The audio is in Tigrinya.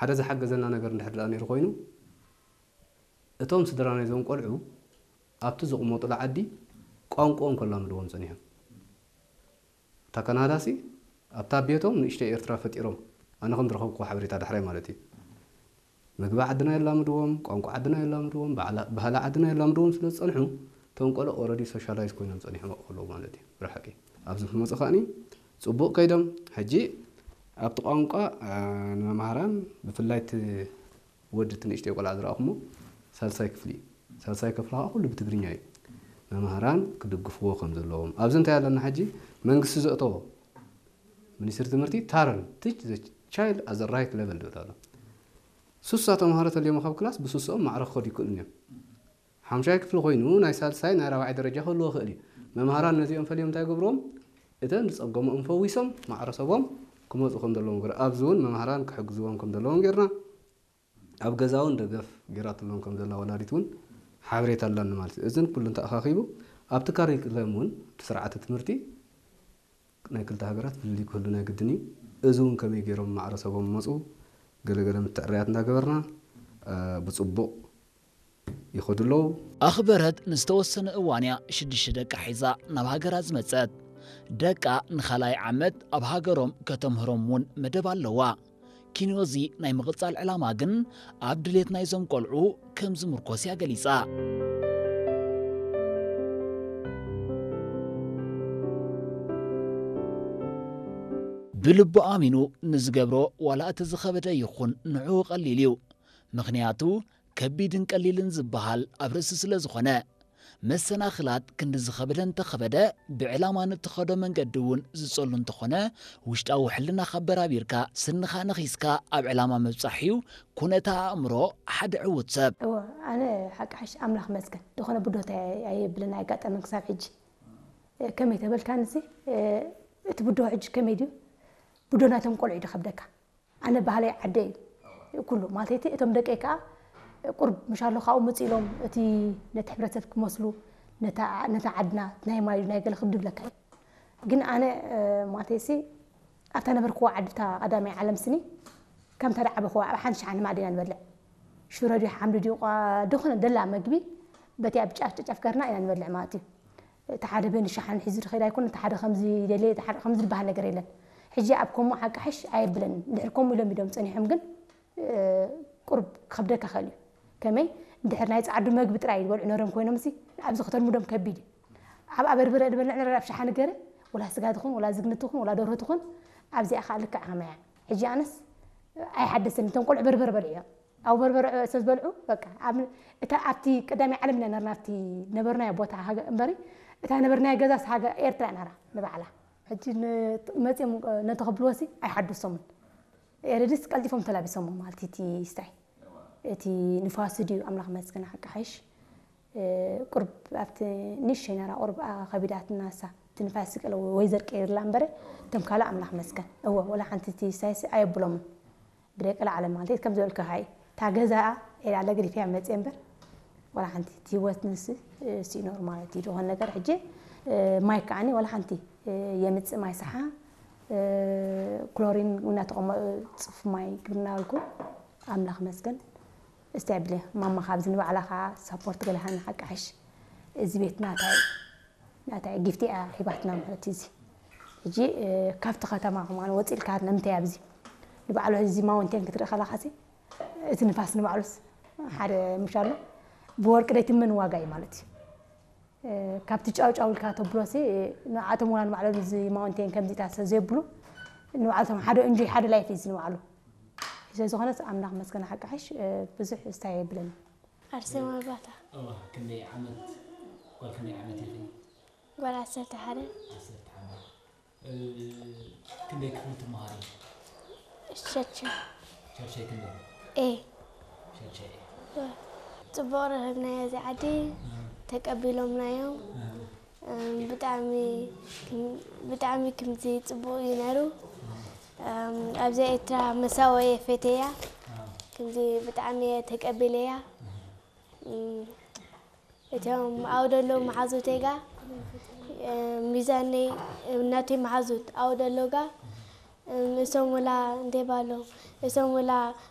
ሓደ ዝሓገዘና ነገር እንድሕር ደኣ ነይሩ ኮይኑ፣ እቶም ስድራ ናይዞም ቆልዑ ኣብቲ ዝቕመጡሉ ዓዲ ቋንቋኦም ከላምድዎም ጸኒሖም። እታ ካናዳሲ ኣብታ ቤቶም ንእሽተይ ኤርትራ ፈጢሮም፣ ኣነ ከም ዝረኸብኩዎ ሓበሬታ ዳሕራይ ማለት እዩ። ምግቢ ዓድና የላምድዎም፣ ቋንቋ ዓድና የላምድዎም፣ ባህላ- ባህሊ ዓድና የላምድዎም ስለ ዝጸንሑ፣ እቶም ቆልዑ ኦረዲ ሶሻላይዝ ኮይኖም ጸኒሖም ኣብኡ ከለዉ ማለት እዩ። ብርሓቂ ኣብዚ ክመጹ ከኣኒ ጽቡቕ ከይዶም። ሕጂ ኣብቲ ቋንቋ፣ እ፣ ንመምሃራን ብፍላይ እቲ ወዲ እቲ ንእሽተይ ቆልዓ ዝረኣኹሞ ሳልሳይ ክፍሊ እዩ። ሳልሳይ ክፍሊ ከዓ ኩሉ ብትግርኛ እዩ። መምሃራን ክድግፍዎ ከም ዘለዎም ኣብዚ እንታይ ኣለና ሕጂ መንግስቲ ዘእተዎ ሚኒስትሪ ትምህርቲ ታረን teach the child at the right level ዝብል ኣሎ። ሱሳ ተምሃሮ ተልዮም ካብ ክላስ ብሱስኦም ማዕረ ክኸዱ ይክእሉን እዮም። ሓምሻይ ክፍሊ ኮይኑ ናይ ሳልሳይ ናይ ራብዓይ ደረጃ ክህልዎ ክእል እዩ። መምሃራን ነዚኦም ፈልዮም እንታይ ገብርዎም እተን ዝፀገሞም ፈዊሶም ማዕረ ሰቦም ክመፁ ከም ዘለዎም ገር ኣብዚ እውን መምሃራን ክሕግዝዎም ከም ዘለዎም ጌርና ኣብ ገዛ እውን ደገፍ ጌራትሎም ከም ዘላ ወላዲት እውን ሓበሬታ ኣላኒ ማለት እዩ። እዝን ኩሉ እንተኣኻኺቡ ኣብቲ ካሪክለም እውን እቲ ስርዓተ ትምህርቲ ናይ ክልተ ሃገራት ፍልልይ ክህሉ ናይ ግድን እዩ። እዚ እውን ከመይ ገይሮም ማዕረሰቦም መፁ ገለገለ ምትዕርያት እንዳገበርና ብፅቡቕ ይኸዱ ኣለዉ። ኣኽበረት ንዝተወሰነ እዋን እያ ሽዱሽተ ደቃ ሒዛ ናብ ሃገራ ዝመጸት። ደቃ ንኻልኣይ ዓመት ኣብ ሃገሮም ከተምህሮም እውን መደብ ኣለዋ። ኪንዮዚ ናይ ምቕጻል ዕላማ ግን ኣብ ድሌት ናይዞም ቆልዑ ከም ዝምርኮስ እያ ገሊጻ። ብልቡ ኣሚኑ ንዝገብሮ ዋላ እቲ ዝኸበደ ይኹን ንዕኡ ቀሊል እዩ። ምኽንያቱ ከቢድን ቀሊልን ዝበሃል ኣብ ርእሲ ስለ ዝኾነ፣ መሰናኽላት ክንዲ ዝኸበደ እንተኸበደ ብዕላማ ንእትኸዶ መንገዲ እውን ዝጸሉ እንተኾነ ውሽጣዊ ሕልናኻ ኣበራቢርካ ስንኻ ነኺስካ ኣብ ዕላማ ምብጻሕ እዩ ኩነታ ኣእምሮ ሓደ ዕዉት ሰብ። እወ ኣነ ሓቂ ሓሽ ኣምላኽ መስገን ዝኾነ ብዶታ ኣየብልን ኣየጋጠመን ክሳብ ሕጂ። ከመይ ተበልካንሲ እቲ ብዶ ሕጂ ከመይ ድዩ ብዶ ናይቶም ቆልዑ እዩ ድኸብደካ። ኣነ ባህለይ ዓደይ እዩ ኩሉ ማለት እቲ እቶም ደቀይ ከዓ ቁርብ ምሻሎ ካብኡ መፂእ ኢሎም እቲ ነቲ ሕብረተሰብ ክመስሉ ነታ ዓድና ናይ ማይ ናይ ገለ ክብድ ብለካ እዩ። ግን ኣነ ማለት ሲ ኣብታ ነበርክዎ ዓዲ እታ ቀዳማይ ዓለም ስኒ ከምታ ደዓበኽዋ ኣብ ሓንቲ ሸሓኒ ማዕድ ኢና ንበልዕ። ሽሮ ድዩ ሓምሊ ድዩ ቋ- ድኾነ ደላ መግቢ በቲያ ብጫፍ ጨጫፍ ገርና ኢና ንበልዕ ማለት እዩ። እቲ ሓደ በኒ ሸሓኒ ሒዙ ዝኸይድ ኣይኮነ፣ እቲ ሓደ ከምዚ ይደልየ፣ እቲ ሓደ ከምዚ ዝበሃል ነገር የለን። ሕጂ ኣብ ከምኡ ሓቂ ሓሽ ኣየብለንን። እንድሕር ከምኡ ኢሎም ኢዶም ጸኒሖም ግን ቁርብ ክኸብደካ ይኽእል እዩ። ከመይ እንድሕር ናይ ጸዓዱ መግቢ ጥራይ ዝበልዑ ነሮም ኮይኖም ሲ ኣብዚ ከተልምዶም ከቢድ እዩ። ኣብ ኣበርበረ ዝበልዕ ነረ ኣብ ሸሓኒ ገረ ወላ ስጋ ትኹን ወላ ዝግኒ ትኹን ወላ ደርሆ ትኹን ኣብዚኣ ከዓ ልክዕ ከመያ። ሕጂ ኣነስ ኣይሓደሰኒ እቶም ቆልዑ በርበረ በልዑ እዮም። ኣብ በርበረ ስለ ዝበልዑ በቃ እታ ኣብቲ ቀዳማይ ዓለም ኢና ነርና ኣብቲ ነበርናዮ ቦታ እምበሪ እታ ነበርናዮ ገዛስ ሃገ ኤርትራ ነራ ንባዕላ። ሕጂ መፅኦም ነቲ ክብልዎ ሲ ኣይሓድሶምን። ኤረድስ ቀልጢፎም ተላቢሶሞ ማለት እቲ ስታይ እቲ ንፋስ ድዩ ኣምላኽ መስገን ሓቂ ሓይሽ። ቁርብ ኣብቲ ንእሽተይ ነራ ቁርብ ከቢዳትና እሳ እቲ ንፋስ ቀለ ወይ ዘርቀየላ እምበረ እቶም ካልእ ኣምላኽ መስገን እወ ወላ ሓንቲ እቲ ስታይስ ኣየብሎምን። ብደቂ ላዕለ ማለት ከም ዝበልካ ሃይ እታ ገዛኣ ኤላ ለግሪፍያ መፅእ እምበር ወላ ሓንቲ እቲ ህይወት ንስ ሲኖር ማለት እዩ ዝኾነ ነገር ሕጂ ማይ ከዓኒ ወላ ሓንቲ የምፅእ ማይ ሰሓ ክሎሪን እናተቐመጡ ፅፍ ማይ ግብና በልኩ ኣምላኽ መስገን። እስቲ ኣብለ ማማ ካብዚ ንባዕላ ከዓ ሳፖርት ገለሃና ሓቂ ሓሽ። እዚ ቤት ናታይ ናታይ ጊፍቲ እያ ሂባትና ማለት እዩ። እዚ ሕጂ ካብቲ ከተማ ከማን ወፂ ኢልካ ንምንታይ ኣብዚ ንባዕሉ እዚ ማውንቴን ክትርኢ ከለካ እቲ ንፋስ ንባዕሉስ ሓደ ምሽ ኣሎ ብወርቂ ደይትመን ዋጋ እዩ ማለት እዩ። ካብቲ ጫው ጫው ኢልካ ተብሎሲ ንዓቶም ወላ ንባዕሎም እዚ ማውንቴን ከምዚታት ስለ ዘይብሉ ንባዕልቶም ሓደ እንጆይ ሓደ ላይፍ እዩ ንባዕሉ። ስለዝኾነስ ኣምላኽ መስገን ሓቂ ሓሽ ብዙሕ ስታይ የብለኒ። ኣርሴማ ባታ። እዋ ክንደይ ዓመት ጓል ክንደይ ዓመት ኢኺ? ጓል ዓሰርተ ሓደ። ዓሰርተ ሓደ። ክንደይ ክፍሊ ትመሃሪ? ሸድሻይ። ሸድሻይ ክንደይ? ኤ። ሸድሻይ ኤ። ጽቡቕ ረኸብናዮ እዚ ዓዲ ተቀቢሎምና እዮም። ብጣዕሚ ብጣዕሚ ክምዚ ጽቡቕ እዩ ነይሩ። ኣብዛ ኤርትራ መሳወየ ፈተያ ክምዚ ብጣዕሚ እየ ተቀቢለያ። እቶም ኣብኡ ዘለዉ መሓዙተይ ጋ ሚዛነይ እናተይ መሓዙት ኣብኡ ዘለዉ ጋ እሶም ወላ እንታይ ባሎም እሶም ወላ